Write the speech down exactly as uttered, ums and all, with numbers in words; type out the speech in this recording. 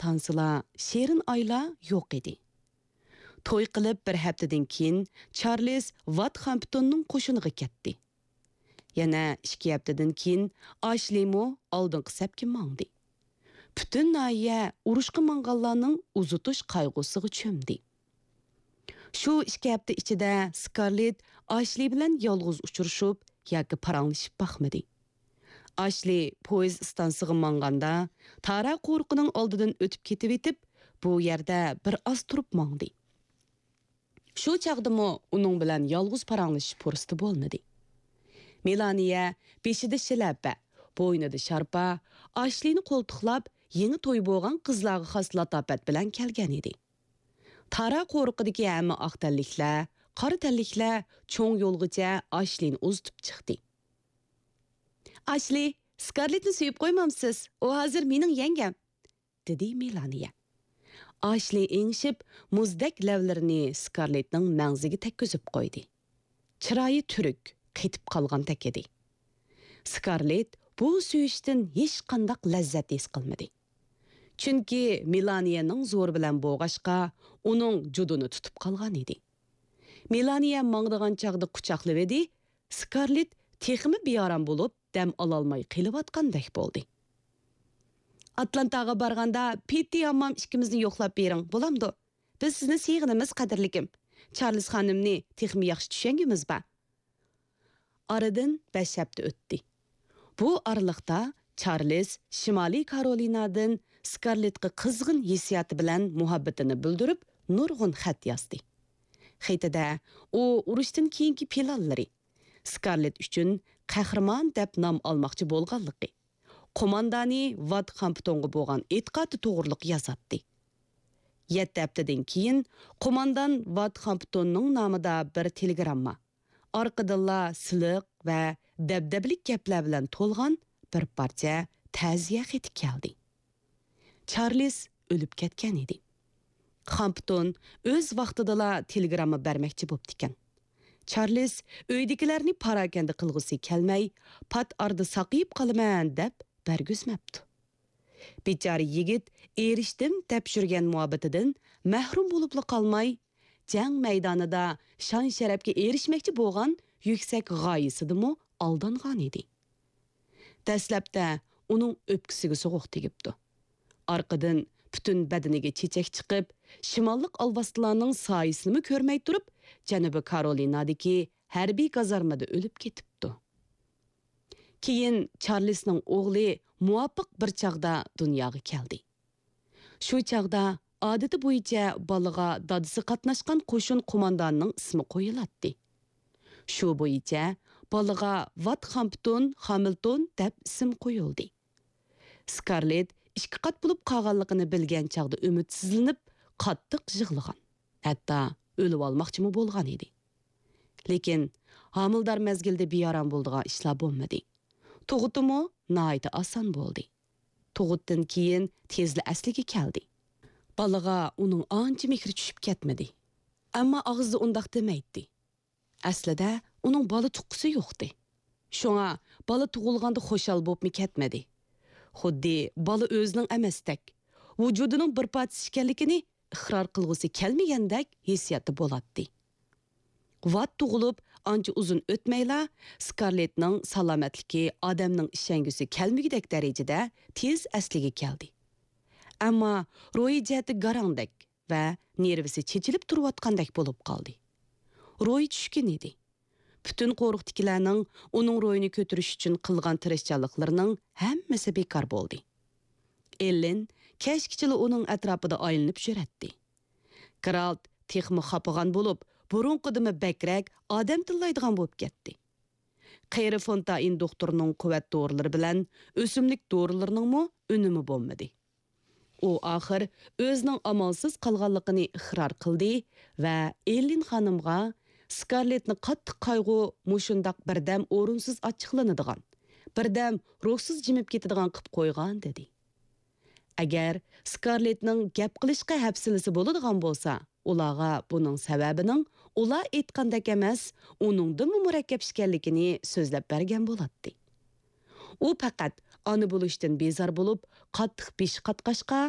تانسىلار، شېرىن ئايلار يوق ئىدى. توي قىلىپ بىر ھەپتىدىن كېيىن، چارلىز ۋات خامپتوننىڭ قوشۇنىغا كەتتى. يەنە ئىككى ھەپتىدىن كېيىن، ئاشلىمۇ ئالدىنقى سەپكە ماڭدى. پۈتۈن ناھىيە ئۇرۇشقا ماڭغانلارنىڭ ئۇزىتىش قايغۇسىغا چۆمدى. شۇ ئىككى ھەپتە ئىچىدە سكارلېت ئاشلى بىلەن يالغۇز ئۇچرىشىپ ياكى پاراڭلىشىپ باقمىدى. ئاشلى پويىز ئىستانسىغا ماڭغاندا، تارا قورۇقىنىڭ ئالدىدىن ئۆتۈپ كېتىۋېتىپ، بۇ يەردە بىر ئاز تۇرۇپ ماڭدى. شۇ چاغدىمۇ ئۇنىڭ بىلەن يالغۇز پاراڭلىشىش پۇرسىتى بولمىدى. مېلانىيە بېشىدا شىلەپە، بوينىدا شارپا، ئاشلىنى قولتۇقلاپ، يېڭى توي بولغان قىزلارغا خاس لاتاپەت بىلەن كەلگەن ئىدى. تارا قورۇقىدىكى ھەممە ئاق تەنلىكلەر، قارا تەنلىكلەر چوڭ يولغىچە ئاشلىنى ئۇزىتىپ چىقتى. «ئاشلى، سكارلېتنى سۆيۈپ قويمامسىز؟ ئۇ ھازىر مېنىڭ يەڭگەم!» دېدى مېلانىيە. ئاشلى ئېڭىشىپ، مۇزدەك لەۋلىرىنى سكارلېتنىڭ مەڭزىگە تەگكۈزۈپ قويدى. چىرايى تۈرۈك، قېتىپ قالغاندەك ئىدى. سكارلېت بۇ سۆيۈشتىن ھېچقانداق لەززەت ھېس قىلمىدى. چۈنكى مېلانىيەنىڭ زورى بىلەن بوغاشقا، ئۇنىڭ جۇدۇنى تۇتۇپ قالغان ئىدى. مېلانىيە ماڭىدىغان چاغدا قۇچاقلىۋىدى، سكارلېت تېخىمۇ بىئارام بولۇپ، دەم ئالالماي قېلىۋاتقاندەك بولدى. «ئاتلانتاغا بارغاندا پېتتى ھاممام ئىككىمىزنى يوقلاپ بېرىڭ، بولامدۇ؟ بىز سىزنى سېغىنىمىز، قەدىرلىكىم. چارلىز خانىمنى تېخىمۇ ياخشى چۈشەنگۈمىز بار.» ئارىدىن بەش ھەپتە ئۆتتى. بۇ ئارىلىقتا چارلىز شىمالىي كارولىنادىن سكارلېتقا قىزغىن ھېسسىياتى بىلەن مۇھەببىتىنى بىلدۈرۈپ، نۇرغۇن خەت يازدى. خېتىدە ئۇ ئۇرۇشتىن كېيىنكى پىلانلىرى، سكارلېت ئۈچۈن قەھرىمان دەپ نام ئالماقچى بولغانلىقى، قوماندانى ۋات خامپتونغا بولغان ئېتىقادى توغرىلىق يازاتتى. يەتتە ھەپتىدىن كېيىن قوماندان ۋات خامپتوننىڭ نامىدا بىر تېلېگرامما، ئارقىدىنلا سىلىق ۋە دەبدەبىلىك گەپلەر بىلەن تولغان بىر پارچە تەزىيە خېتى كەلدى. چارلىز ئۆلۈپ كەتكەن ئىدى. خامپتون ئۆز ۋاقتىدىلا تېلېگرامما بەرمەكچى بوپتىكەن. چارلىز ئۆيدىكىلەرنى پاراكەندە قىلغۇسى كەلمەي، پات ئارىدا ساقىيىپ قالىمەن دەپ بەرگۈزمەپتۇ. بىچارە يىگىت ئېرىشتىم دەپ يۈرگەن مۇھەببىتىدىن مەھرۇم بولۇپلا قالماي، جەڭ مەيدانىدا شان-شەرەپكە ئېرىشمەكچى بولغان يۈكسەك غايىسىدىمۇ ئالدانغان ئىدى. دەسلەپتە ئۇنىڭ ئۆپكىسىگە سوغۇق تېگىپتۇ. ئارقىدىن پۈتۈن بەدىنىگە چېچەك چىقىپ، شىماللىق ئالۋاستىلارنىڭ سايىسىنىمۇ كۆرمەي تۇرۇپ، جەنۇبىي كارولىنادىكى ھەربىي گازارمىدا ئۆلۈپ كېتىپتۇ. كېيىن چارلىسنىڭ ئوغلى مۇۋاپىق بىر چاغدا دۇنياغا كەلدى. شۇ چاغدا ئادىتى بويىچە بالىغا دادىسى قاتناشقان قوشۇن قوماندانىنىڭ ئىسمى قويۇلاتتى. شۇ بويىچە بالىغا ۋات خامپتون خامىلتون دەپ ئىسىم قويۇلدى. سكارلېت ئىككى قات بولۇپ قالغانلىقىنى بىلگەن چاغدا ئۈمىدسىزلىنىپ، قاتتىق يىغلىغان، ھەتتا ئۆلۈۋالماقچىمۇ بولغان ئىدى. لېكىن ھامىلىدار مەزگىلدە بىئارام بولىدىغان ئىشلار بولمىدى. تۇغۇتىمۇ ناھايىتى ئاسان بولدى. تۇغۇتتىن كېيىن تېزلا ئەسلىگە كەلدى. بالىغا ئۇنىڭ ئانچە مېھرى چۈشۈپ كەتمىدى. ئەمما ئاغزىدا ئۇنداق دېمەيتتى. ئەسلىدە ئۇنىڭ بالا تۇغقۇسى يوقتى. شۇڭا بالا تۇغۇلغاندا خۇشال بوپمۇ كەتمىدى. خۇددى بالا ئۆزىنىڭ ئەمەستەك، ۋۇجۇدىنىڭ بىر پارچىسى ئىكەنلىكىنى ئىقرار قىلغۇسى كەلمىگەندەك ھېسسىياتتا بولاتتى. ۋات تۇغۇلۇپ ئانچە ئۇزۇن ئۆتمەيلا، سكارلېتنىڭ سالامەتلىكى ئادەمنىڭ ئىشەنگۈسى كەلمىگۈدەك دەرىجىدە تېز ئەسلىگە كەلدى. ئەمما روھىي جەھەتتە گاراڭدەك ۋە نېرۋىسى چېچىلىپ تۇرۇۋاتقاندەك بولۇپ قالدى. روھى چۈشكۈن ئىدى. پۈتۈن قورۇقتىكىلەرنىڭ ئۇنىڭ روھىنى كۆتۈرۈش ئۈچۈن قىلغان تىرىشچانلىقلىرىنىڭ ھەممىسى بىكار بولدى. ئېللېن كەچكىچىلا ئۇنىڭ ئەتراپىدا ئايلىنىپ يۈرەتتى. گېرالت تېخىمۇ خاپىغان بولۇپ، بۇرۇنقىدىنمۇ بەكرەك ئادەم تىللايدىغان بولۇپ كەتتى. قېرى فونتائىن دوختۇرنىڭ قۇۋۋەت دورىلىرى بىلەن ئۆسۈملۈك دورىلىرىنىڭمۇ ئۈنۈمى بولمىدى. ئۇ ئاخىر ئۆزىنىڭ ئامالسىز قالغانلىقىنى ئىقرار قىلدى ۋە ئېللېن خانىمغا، «سكارلېتنى قاتتىق قايغۇ مۇشۇنداق بىردەم ئورۇنسىز ئاچچىقلىنىدىغان، بىردەم روھسىز جىمىپ كېتىدىغان قىپ قويغان» دېدى. ئەگەر سكارلېتنىڭ گەپ قىلىشقا ھەپسىلىسى بولىدىغان بولسا، ئۇلارغا بۇنىڭ سەۋەبىنىڭ ئۇلار ئېيتقاندەك ئەمەس، ئۇنىڭدىنمۇ مۇرەككەپ ئىكەنلىكىنى سۆزلەپ بەرگەن بولاتتى. ئۇ پەقەت ئانا بولۇشتىن بىزار بولۇپ، قاتتىق بېشى قاتقاچقا،